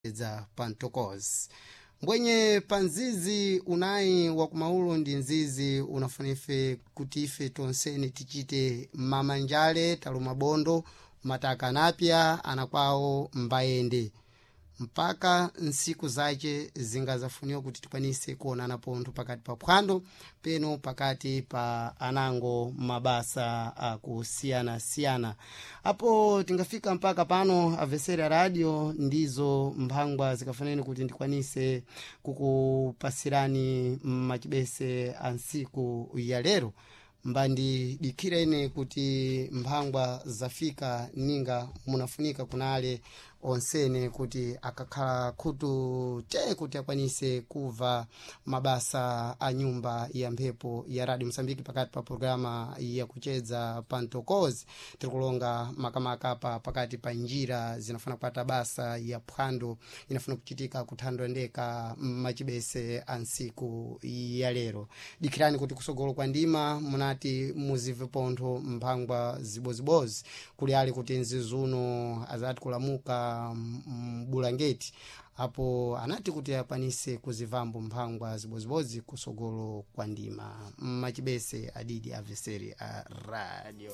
Za pantokozi mbwenye pa nzizi unayi wakumaulo ndi nzizi unafuna ife kuti ife tonsene tichite mamanjale taluma bondo mataka anapya anakwawo mbayende mpaka nsiku zace zingazafuniwa kuti tikwanise kuonana pontho pakati pa phwando peno pakati pa anango mabasa akusiyana-siyana. Apo tingafika mpaka pano avesera radio ndizo mphangwa zikafaneni kuti ndikwanise kukupasirani machibese a nsiku ya lero. Mbandidikireni kuti mphangwa zafika ninga munafunika kunale onsene kuti akakhala khutu te kuti akwanise kuva mabasa a nyumba ya mphepo ya Radio Msambiki pakati pa programa ya kuchedza pantokozi. Tirikulonga makamaka pa pakati pa njira zinafuna kupata basa ya phwando inafuna kuchitika kuthandwa ndeka machibese a nsiku ya lero. Dikirani kuti kusogolo kwa ndima munati muzive pontho mphangwa zibozibozi kuli ali kuti nzizuno azati kulamuka mbulangeti apo anati kuti akwanise kuzivambo mphangwa zibozibozi kusogolo kwa ndima. Machibese adidi aveseri a radio.